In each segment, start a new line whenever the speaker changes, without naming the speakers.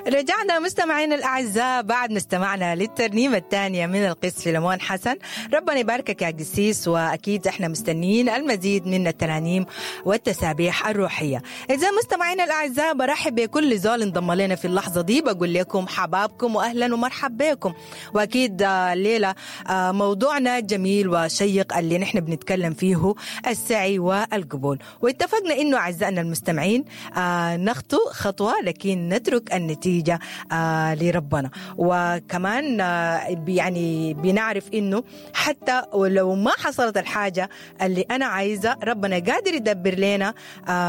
رجعنا مستمعينا الأعزاء بعد ما استمعنا للترنيمة الثانية من القس فيلمون حسن. ربنا يباركك يا قسيس، وأكيد احنا مستنيين المزيد من الترانيم والتسابيح الروحية. إذا مستمعينا الأعزاء، برحب بكل زول انضم لنا في اللحظة دي، بقول لكم حبابكم وأهلا ومرحب بكم. وأكيد الليلة موضوعنا جميل وشيق اللي نحن بنتكلم فيه، السعي والقبول. واتفقنا إنه أعزائنا المستمعين نخطو خطوة لكن نترك النتيجة لربنا. وكمان يعني بنعرف إنه حتى ولو ما حصلت الحاجة اللي أنا عايزة، ربنا قادر يدبر لنا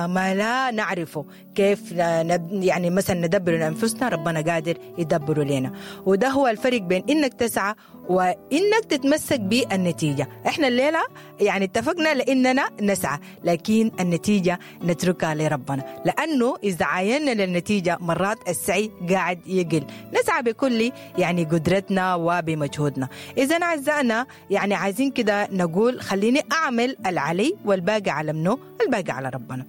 ما لا نعرفه كيف، يعني مثلا ندبر لأنفسنا، ربنا قادر يدبره لنا. وده هو الفرق بين إنك تسعى وإنك تتمسك بالنتيجة. إحنا الليلة يعني اتفقنا لإننا نسعى، لكن النتيجة نتركها لربنا، لأنه إذا عاينا للنتيجة مرات السعي قاعد يقل. نسعى بكل يعني قدرتنا وبمجهودنا. إذا أعزائنا، يعني عايزين كده نقول خليني أعمل العلي والباقي على منه؟ الباقي على ربنا.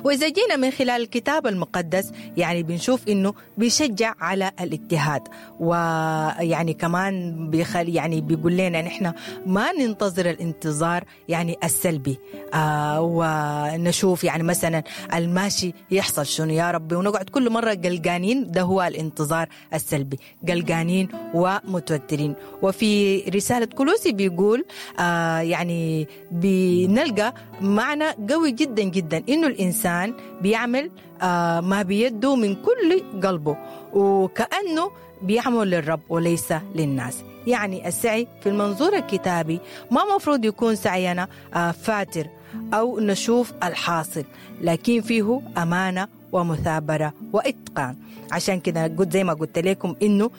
وإذا جينا من خلال الكتاب المقدس، يعني بنشوف إنه بيشجع على الاجتهاد، ويعني كمان بيخلي يعني بيقول لنا نحن ما ننتظر الانتظار يعني السلبي ونشوف يعني مثلا الماشي يحصل شنو يا ربي، ونقعد كل مرة قلقانين. ده هو الانتظار السلبي، قلقانين ومتوترين. وفي رسالة كولوسي بيقول يعني بنلقى معنى قوي جدا جدا، إنه الإنسان بيعمل ما بيده من كل قلبه وكأنه بيعمل للرب وليس للناس. يعني السعي في المنظور الكتابي ما مفروض يكون سعينا فاتر أو نشوف الحاصل، لكن فيه أمانة ومثابرة وإتقان. عشان كده قلت زي ما قلت لكم إنه